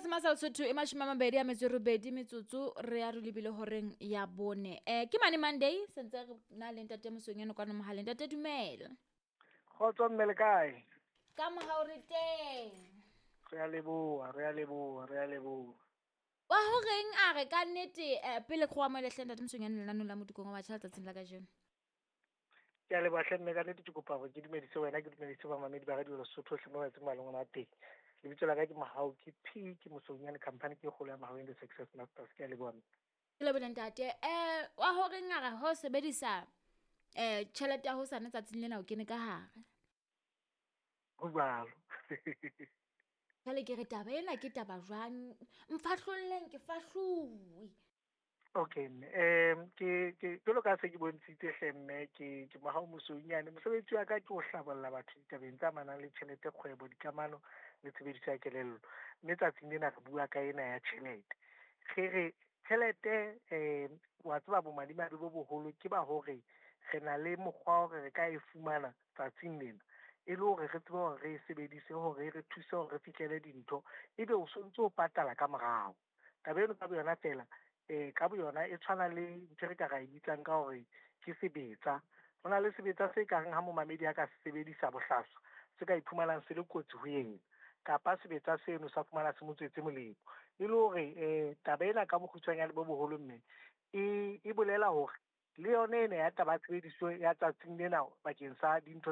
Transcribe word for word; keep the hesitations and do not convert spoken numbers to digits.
Masa Lesotho e mashome a mabedi a metso e robedi metsotso re ya re lebile horeng ya bone. Eh ke mane Monday sentse re na le ntate Mosweunyane kwano mohaleng. Ntate dumela. Kgotso mme le kae? Ka mohau re teng. Re a leboha, re a leboha, re a leboha. Wa horeng a re ka nnete eh, pele ke go amohele hle ntate Mosweunyane lenaneo la Modikong wa batjha letsatsing la kajeno. Ke a leboha hle mme ka nnete ke kopa hore ke dumedise wena, ke dumedise bamamedi ba Radio Lesotho hohle mo ba etseng maleng ona teng. Lebitso la ka ke Mohau, ke P, ke Mosweunyane, company ke e kgolo ya Mahau and the Success Masters. Ke a leboha mme. Ke lebohile ntate. Eh wa horeng a re ho sebedisa eh tjhelete ya hosane tsatsing lena o kene ka hare. Ho jwalo. Jwale ke re taba ena ke taba jwang? Mfahlolleng ke fahluwe. Okay mme, um ke ke jwalo ka se ke bontshitse hle mme ke ke Mohau Mosweunyane. Mosebetsi wa ka ke ho hlabolla batho ditabeng tse amanang le tjhelete, kgwebo, dikamano le tshebediso ya kelello. Mme tsatsing lena re bua ka ena ya tjhelete. Re re tjhelete um wa tseba bomadimabe bo boholo ke ba hore re na le mokgwa wa hore re ka e fumana tsatsing lena e le hore re tsebe hore re e sebedise hore e re thuse hore re fihlele dintho, ebe o sontso o patala ka morao. Taba eno ka boyona feela eh ka boyona e tshwana le ntho e re ka ra e bitsang ka hore ke sebetsa. Ho na le sebetsa se kareng ha momamedi a ka se sebedisa bohlaswa, se ka iphumanang se le kotsi ho yena, kapa sebetsa seno sa fumana se mo tswetse molemo. E le hore eh taba ena ka bokgutshwanyane bo boholo mme e e bolela hore le yona ena ya taba ya tshebediso ya tsatsing lena bakeng sa dintho